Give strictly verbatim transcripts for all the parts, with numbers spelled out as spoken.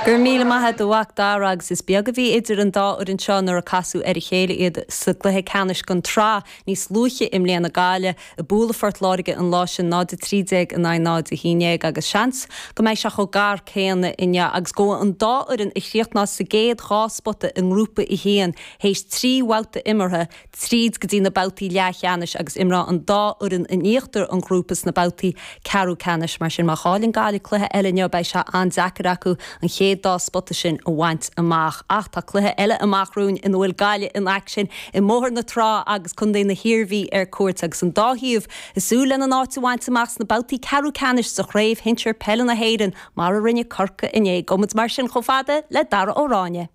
Gur míle maithe do mhac dara agus is beag a bhí idir an dá fhoireann seo nuair a casadh ar a chéile iad sa gcluiche ceannais den tsraith níos luaithe i mbliana Gaillimh ag bualadh Phort Láirge an lá sin náid a trí déag in aghaidh náid a haon déag agus seans go mbeidh sé chomh gar céanna inniu agus go an dá fhoireann a chríochnós sa gcéad dhá spota i ngrúpa a haon théis trí bhabhta imeartha tríd go dtí na babhtaí leathcheannais agus imreoidh an dá fhoireann in íochtar an ghrúpa sna babhtaí ceathrú ceannais mar sin má chailleann Gaillimh cluiche eile inniu beidh sé an-deacair acu an chéad dá spota sin a bhaint amach ach tá cluiche eile amach romhainn ina bhfuil Gaillimh in aicsean i mBóthar na Trá agus Contae na hIarmhí ar cuairt agus an dá thaobh ag súil lena n-áit a bhaint amach sna babhtaí ceathrú ceannais sa chraobh shinsir peile na hÉireann mar a rinne Corcaigh inné gabhfaidh muid mar sin chomh fada le Dara Ó Ráinne.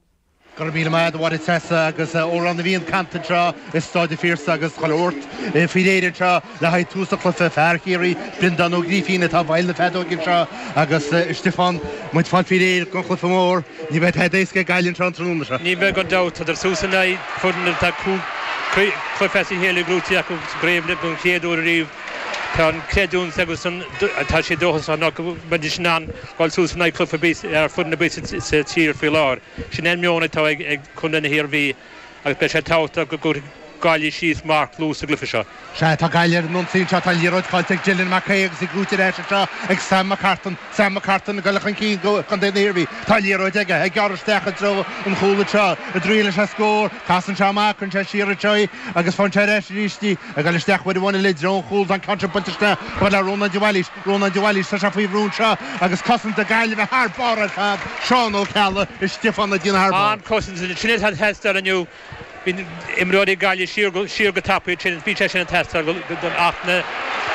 Gur míle maith a Mháire Treasa agus amhrán na bhFiann canta anseo i Staid an Phiarsaigh agus chuile shórt faoi réir anseo le haghaidh tús an chluiche fear Chiarraí Breandán Ó Grífín atá i bhfeighil na feadóige anseo agus Stiofán muid fáil faoi réir don chluiche mór ní bheidh tada éasca ag Gaillimh anseo an tráthnóna seo. Ní bheidh gan dabht tá suas in aghaidh foireann atá cúig chluiche as a chéile gnóthaithe acu sa gcraobh don chéad uair ariamh Tá an creidiúint agus an tá sé dóchasach ná go mbeidís in ann dul suas in aghaidh cluiche ar bith ar foireann ar bith sa tír faoi láthair. Sin an meon atá ag ag Contae na hIarmhí agus beidh sé tábhachtach go gcuirfidh Gaillimh síos marc luath sa gcluiche seo. Sea tá Gaillimh ar an ionsaí anseo tá an liathróid caillte ag Dylan McKay agus í gnóthaithe ar ais anseo ag Sam McCartan. Sam McCartan ag dul chun cinn go Contae na hIarmhí. Tá an liathróid aige ag gearradh isteach i dtreo an chúil anseo i dtriail leis an scór. Casann sé amach cuireann sé siar anseo í agus faigheann sé ar ais arís í ag dul isteach uair amháin eile i dtreo an chúil tá an ceann seo buailte isteach chomh fada le Rónán de Bhailís. Rónán de Bhailís tá sé faoi bhrú anseo agus cosaint na Gaillimhe thar barr ar fad. Seán Ó Ceallaigh is Stiofán ag déanamh thar barr. An-chosaint sin atá ag teastáil inniu. Bhí imreoirí Gaillimh siar go siar go tapaidh sin bhí sé sin ag teastáil ach na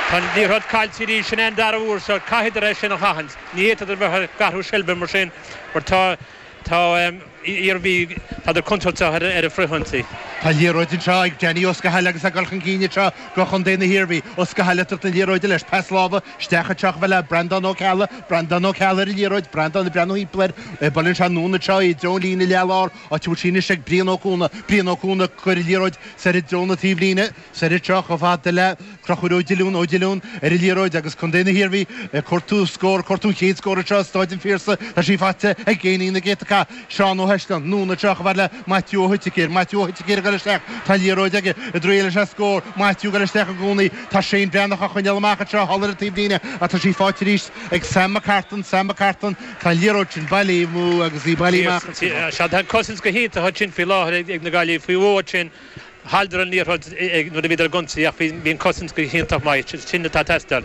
tá an liathróid caillte arís sin an dara huair so caithfidh é sin a sheachaint. Ní fhéadfadh bheith ag athrú seilbhe mar sin mar tá tá Iarmhí tá contúirteach ar ar a frithionsaí. Tá liathróid anseo ag Danny Ó Scathail agus ag dul chun cinn anseo go Chontae na hIarmhí. Ó Scathail ag tabhairt na liathróide leis pas láimhe isteach anseo chomh fada le Breandán Ó Ceallaigh, Breandán Ó Ceallaigh ar an liathróid, Breandán ag breathnú timpeall air, buaileann sé anonn anseo i dtreo an líne leathlár, áit a bhfuil sí anois ag Brian Ó Cuana, Brian Ó Cuana ag cur an liathróid soir i dtreo na taobhlíne, soir anseo chomh fada le Conchúr Ó Diolún, Ó Diolún ar an liathróid agus Contae na hIarmhí ag cuartú scór, cuartú an chéad scór anseo i Stáid an Phiarsaigh. Tá sí faighte ag géinín na gcéadta cath, Seán Ó hEisleann, anonn anseo chomh fada le Maitiú Ó hOiticéir, Maitiú Ó hOiticéir ag dul isteach, tá an liathróid aige, i dtriail leis an scór, Maitiú ag dul isteach i gcónaí, tá Shane Breathnach á choinneáil amach anseo thall ar an taobhlíne ach tá sí faighte arís ag Sam McCartan, Sam McCartan, tá an liathróid sin bailithe amú agus í bailithe amach ansin. Sea, tá an cosaint go hiontach ansin faoi láthair ag na Gaillimhigh faoi bhó ansin. Chailleadar an liathróid nuair a bhíodar ag ionsaí ach bhí an cosaint go hiontach maith, sin atá ag teastáil.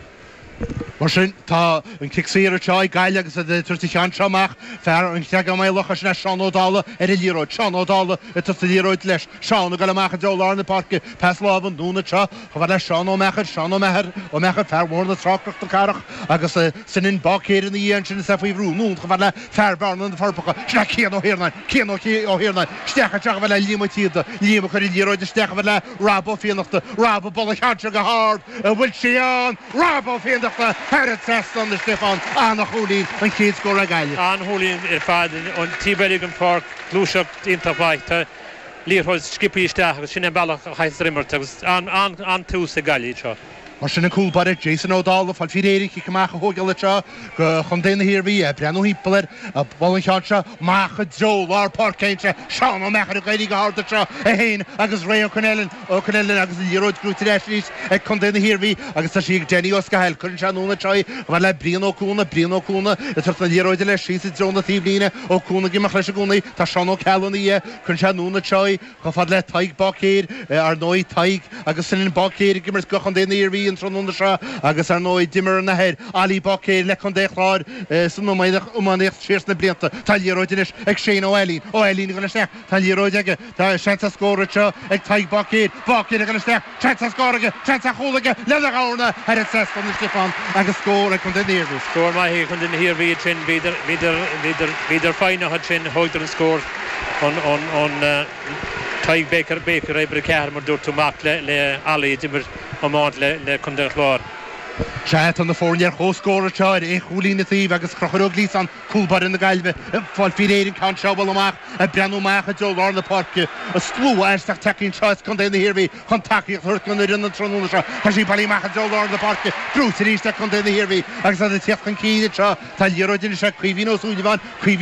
Mar sin, tá an cic saor anseo ag Gaillimh agus iad ag tabhairt an cheann seo amach. Fear an Chreagáin Maigh Locha, sin é Seán Ó Dálaigh ar an liathróid. Seán Ó Dálaigh ag tabhairt an liathróid leis. Seán ag dul amach i dtreo lár na páirce. Pas láimhe anonn anseo chomh fada le Seán Ó Meachair. Seán Ó Meachair, Ó Meachair, fear Bhóthar na Trá Cnoc na Cathrach agus Senan Báicéir ina dhiaidh ansin is é faoi bhrú. Anonn chomh fada le fear Bhearna na Forbacha. Sin é Cian Ó hIarnáin. Cian Ó hIarnáin isteach anseo chomh fada le Liam Ó Tíoda. Liam ag cur an liathróid isteach chomh fada le Rob Ó Fiannachta. Rob ag bualadh an cheann seo go hard. An bhfuil sí ann? Rob Ó Fiannachta thar an trasnán a Stiofán. An-chúilín, an chéad scór ag Gaillimh. An-chúilín ar fad ón taobh eile den pháirc, gluaiseacht iontach mhaith. Tá liathróid sciobtha isteach agus sin an bealach a chaithfear imirt agus an-tús ag Gaillimh anseo. Mar sin an cúl báire Jason Ó Dálaigh ag fáil faoi réir an chic amach a thógáil anseo go Chontae na hIarmhí, ag breathnú thimpeall air, ag bualadh an cheann seo amach i dtreo lár páirce anseo. Seán Ó Meachair ag éirí go hard anseo, é féin agus Ray Ó Coinneáin, Ó Coinneáin agus an liathróid gnóthaithe ar ais arís ag Contae na hIarmhí agus tá sí ag Danny Ó Scathail. Cuireann sé anonn anseo í chomh fada le Brian Ó Cuana, Brian Ó Cuana ag tabhairt na liathróide leis síos i dtreo na taobhlíne. Ó Cuana ag imeacht leis i gcónaí. Tá Seán Ó Ceallaigh ina dhiaidh. Cuireann sé anonn anseo í. Chomh fada le Tadhg Báicéir, ar ndóigh, Tadhg agus Senan Báicéir ag imirt go Chontae na hIarmhí an tráthnóna seo agus ar ndóigh d'imir an athair, Ollie Báicéir, le Contae an Chláir san iománaíocht siar sna blianta. Tá an liathróid anois ag Shane Ó Ailín. Ó Ailín ag dul isteach. Tá an liathróid aige. Tá seans ar scór anseo ag Tadhg Báicéir. Báicéir ag dul isteach. Seans ar scór aige. Seans ar chúl aige lena dhorna thar an trasnán a Stiofán agus scór ag Contae na hIarmhí. Scór maith ag Contae na hIarmhí ansin. Bhíodar, bhíodar, bhíodar, bhíodar foighneach ansin. Thógadar an scór. ón Tadhg Baker, Baker uimhir a ceathair mar dúirt tú, mac le le Ollie a d'imir iomáint le le Contae an Chláir. Sea, tá na foirne ar comhscór anseo ar aon chúilín an taobh agus Conchúr Ó Gliasáin, cúl báire na Gaillimhe, ag fáil faoi réir an ceann seo a bhualadh amach, ag breathnú amach i dtreo lár na páirce. An slua aisteach tagtha anseo as Contae na hIarmhí chun tacaíocht a thabhairt don fhoireann an tráthnóna seo. Tá sí bailithe amach i dtreo lár na páirce, brúite arís ag Contae na hIarmhí agus iad ag tíocht chun cinn anseo. Tá liathróid anois ag Caoimhín Ó Súilleabháin, Caoimhín.